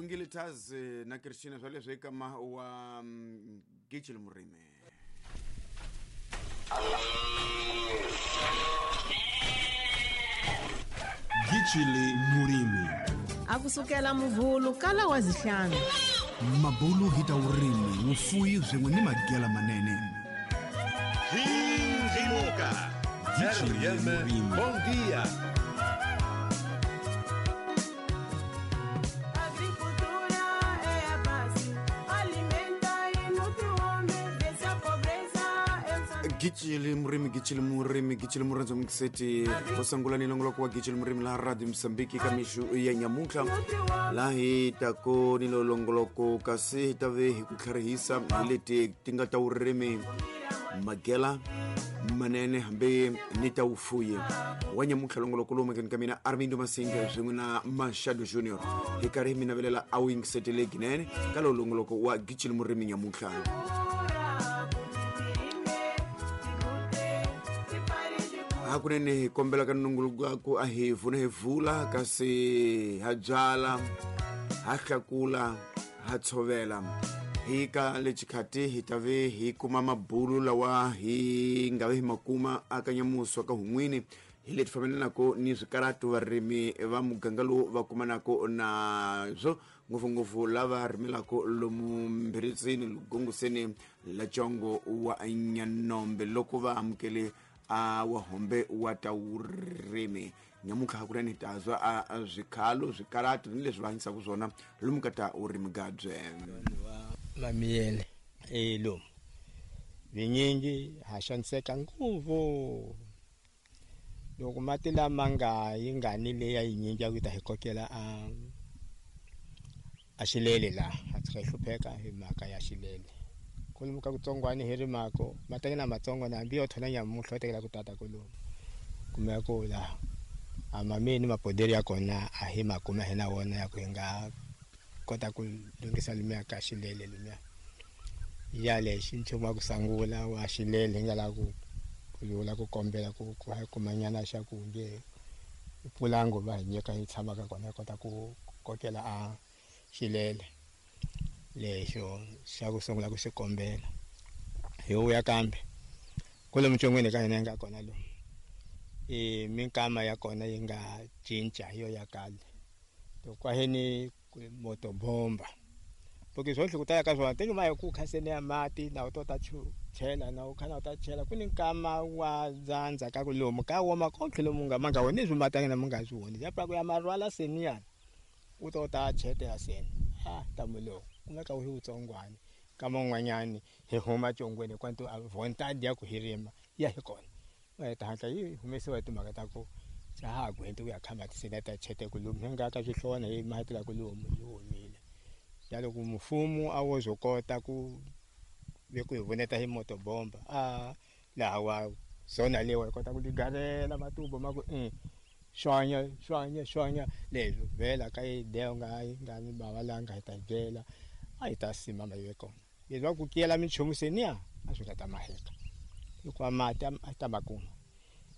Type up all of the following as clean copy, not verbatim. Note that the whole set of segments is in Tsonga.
Wingile Taz na Christina swa leswi eka ma wa Gijil Murimi. Gijili Murimi. A ku sukela muvhulu kala wa zihlanu. Mabulu hi ta vurimi, vufuwi swin'we ni magela manene. Hindimuka. Gijili RM, Murimi. bom dia. Agricultura é a base, alimenta e nutre o homem, vence a pobreza. É o saber. Gijili Murimi, Gijili Murimi, Gijili Murenzo Mkiseti. Kusangula ni longoloko wa Gijili Murimi la Radio Msambiki kamishu ya nyamuka. La hi tako ni longoloko kasi hi ta ve hi ku tlharihisa hi leti ti nga ta vurimi magela manene hambi ni ta vufuyi wa nyamutlha longoloko lowu makeni ka mina Armindo Masinga swin'we na Mashado Junior hi karhi hi mi navelela a wu yingisetele ginene ka lowu longoloko wa Gijili Murimi nyamutlha. Hakunene hi kombela ka nongoloko ku a hi vuna hi vula kasi ha byala ha hlakula ha tshovela hi ka lexikhati hi ta ve hi kuma mabulu lawa hi nga ve hi ma kuma aka nyamuso ka hun'wini hi leti fambelanaka ni swikaratu varimi va muganga lowu va kumanaka nazwo ngopfungopfu lava rimelaka lomu mbiritsini lugongoseni la congo wa Nyanombe loko va amukele a wa hombe wa ta vurimi nyamutlha hakunene hi ta zwa a swikhalo swikaratu ni leswi va hanyisaka swona lomu ka ta vurimi gabye. Mamiyele lomu vinyingi ha xaniseka ngopfu loko mati lama nga yi nga ni leya yinyingi ya ku ta hi kokela a xilele la a tshuka hi hlupheka hi mhaka ya xilele kolomu ka kutsongwani hi rimako mateke na matsongo na hambi yo thona nyamuhla tekela ku tata kolomu kumeka ku la a mameni mapoderi ya kona a hi makuma hi na wona ya ku hi nga kota ku lunghisa lumiya ka xilele lumiya ya lexi nchumu wa ku sangula wa xilele hi nga la ku lula ku kombela ku ku hi kumanyana xa ku nge pulango va hi nyika hi tshamaka kona hi kota ku kokela a xilele lexo xa ku sungula ku xi kombela hi vuya kambe kwalomu ntsongweni ka hina yi nga kona lomu i minkama ya kona yi nga cinca hi yo ya kale to kwaheni motobomba porque swo ku tala ka swona tenge ma hi ku khaseni ya mati na u to ta chela na u khana u ta chela ku ni nkama wa dzandza ka ku lomu ka woma konke lomu nga ma nga woni swi matanga na mu nga swi woni ya pra ku ya marwala seniyana u to ta chetela seni ha ta mulo kumeka u hi utsongwani ka man'wanyani hi huma congweni kwantu a vontadi ya ku hirima ya hi kona va ta hatla yi humesiwa hi timhaka ta ku xa ha gwenti ku ya khamba tiseni ta chete ku lomu hi nga ka swihlona hi mahetela ku lomu yi humile ya loko mfumo a wo zo kota ku ve ku hi vuneta hi motobomba a laha wa zona lewa hi kota ku ligarela matubo ma ku xwanya xwanya xwanya leswi vhela ka yi deo nga yi nga ni bava la nga hi ta byela a hi ta sima ma yi kona leswi va ku kiyela minchumu seniya a swi nga ta maheka hikuva mati a ta ma kuma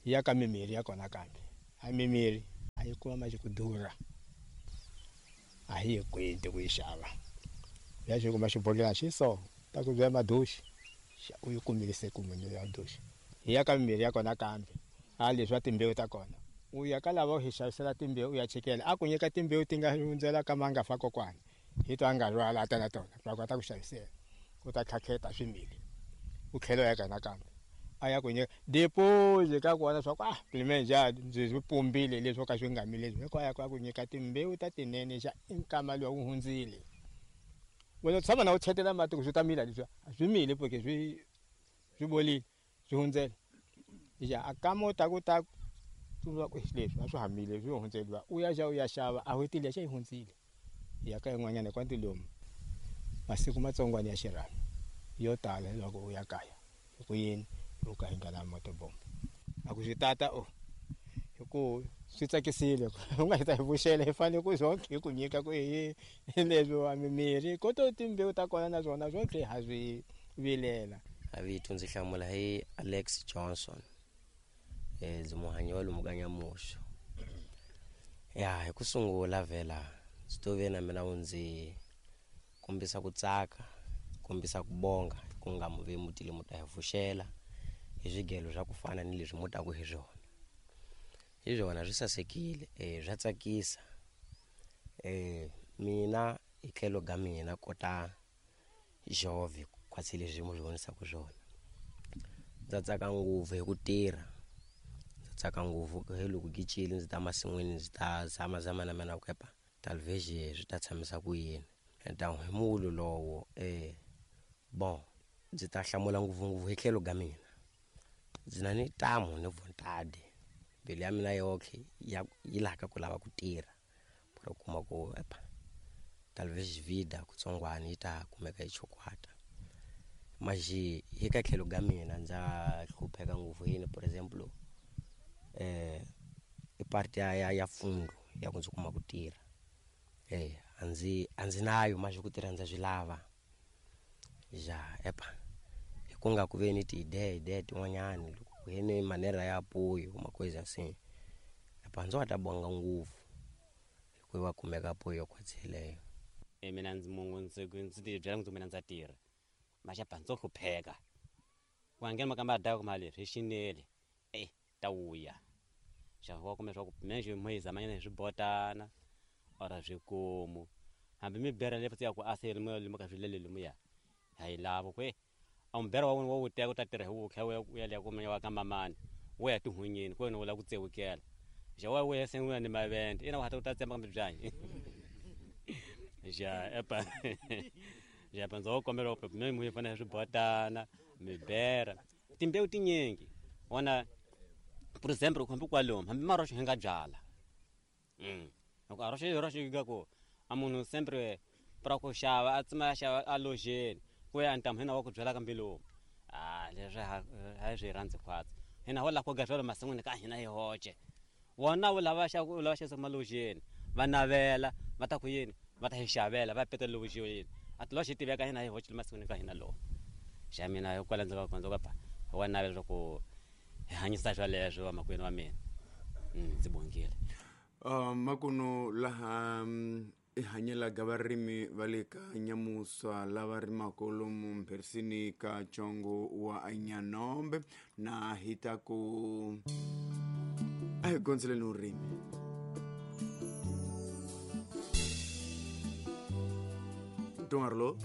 hi ya ka mimirhi ya kona kambe a mimirhi a yi kuma ma ku durha a hi yi kwenti ku yi xava ya xi kuma xibodhlele xi so ta ku byela madoxi u yi kumile se ku munhu ya doxi hi ya ka mimirhi ya kona kambe a leswi wa timbewu ta kona u ya ka lava u hi xavisela timbewu u ya chekela a ku nyika timbewu ti nga hundzela ka ma nga fa kokwana hi to a nga rhwala a ta na tona va kota ku xavisela u ta khakheta swimili u tlhela u ya ka nakambe a ya ku nyika deposit ka kona swa ku ah plimenja ndzi swi pumbile leswi ka swi nga mili leswi hikuva ya ku nyika timbewu ta tinene xa i nkama luwa wu hundzile wena u tshama na u chetela mati ku swi ta mila leswi a swi mili porque swi bolile swi hundzele ya a kama u ta ku ta tsundzuka ku leswi a swi hamile swi hundzeliwa u ya xa u ya xava a wetile xa yi hundzile ya ka yin'wanyana kwanti lomu masiku matsongwana ya xirhami yo tala loko u ya kaya hi ku yini u ka hi nga na motobomba a ku swi tata o hi ku swi tsakisile u nga hi ta hi vuxela hi fanele ku zonke hi ku nyika ku hi leswi wa mimirhi koto timbewu ta kona na swona swo ha swi vilela. A vito ndzi hlamula hi Alex Johnson ndzi muhanyi wa lomu ka Nyamuxo ya hi ku sungula vhela Ndzi to ve na mina wu ndzi kombisa ku tsaka, kombisa ku bonga ku nga mu ve mutile mu ta hi vuxela hi swigelo swa ku fana ni leswi mu taku hi swona. Hi swona swi sasekile, swa tsakisa. Mina hi tlhelo ga mina kota jove khwatsi leswi mu swi vonisaka swona. Ndza tsaka ngopfu hi ku tirha, ndza tsaka ngopfu hi loko gicile ndzi ta masin'wini ndzi ta zamazama na mina ku epa talvexe swi ta tshamisa ku yini. Ta hi mulo lowo bon ndzi ta hlamula ngopfungopfu hi tlhelo ga mina. Ndzi na ni tamu ni vontade, mbilu ya mina yoxe ya yi laka ku lava ku tirha ku kuma ku epa talvexe vida kutsongwana yi ta kumeka yi chokwata. Maji hi ka tlhelo ga mina ndza hlupheka ngopfu yini, for example i part ya fundo ya ku ndzi kuma ku tirha. A ndzi nayo maji ku tirha ndza swi lava. Ja epa hi ku nga ku ve ni ti-idea tin'wanyani loko ku ve ni manera ya poyo makweza se epa ndzi wa ta bonga ngopfu hikuva kumeka poyo khwatseleyo. Mina ndzi mungu ndzi ti byela ku mina ndza tirha. Maxapa ndzo hlupheka. Ku nghena makamba daka mali leswi xinele. Ta wuya. Xa wa kumbe swa ku menje mo yi zamanyana hi swibotana ora swikomu. Hambi mi bera le ya ku asele mo le ka swilele le muya. Ha yi lava ku a mbera wa wena wa wu teka u ta tirha hi wu kha u ya le ku wa ka mamani. Wo ya tihunyeni ku wena u la ku tsewukela. Xa wa we se n'wina ni mavende. Ina wa ta u ta tsemba kambe byanyi. Ja epa. Ja panza wo kombela ku mi mu fana swibotana, mi bera. Timbewu tinyingi. Wona for example ku hambi kwalomu hambi maroxo hi nga byala. Loko a roxo roxo yi ga ku a munhu sempre pra ku xava a tsima xava a lojeni ku ya ntamu hina wa ku byala kambe lomu. Leswi ha swi rhandzi khwatsi. Hina ho la ku ga swalo masin'wini ka hina hi hoxe. Wona wu lava xa ku lava xa malojeni va navela va ta ku yini va ta hi xavela va peta lojeni. A ti loxi tiveka hina hi hoxe masin'wini ka hina lomu. Xa mina hi kwala ndzi ka kondza ka wa navela ku hi hanyisa swaleswo va makwenu wa mina. Ndzi bongile. Makuno laha i hanyela ga varimi va le ka Nyamusa lava rimaka lomu mpherisini ka Congo wa Nyanombe na hi ta ku a hi gondzeleni vurimi. Ntungarlo.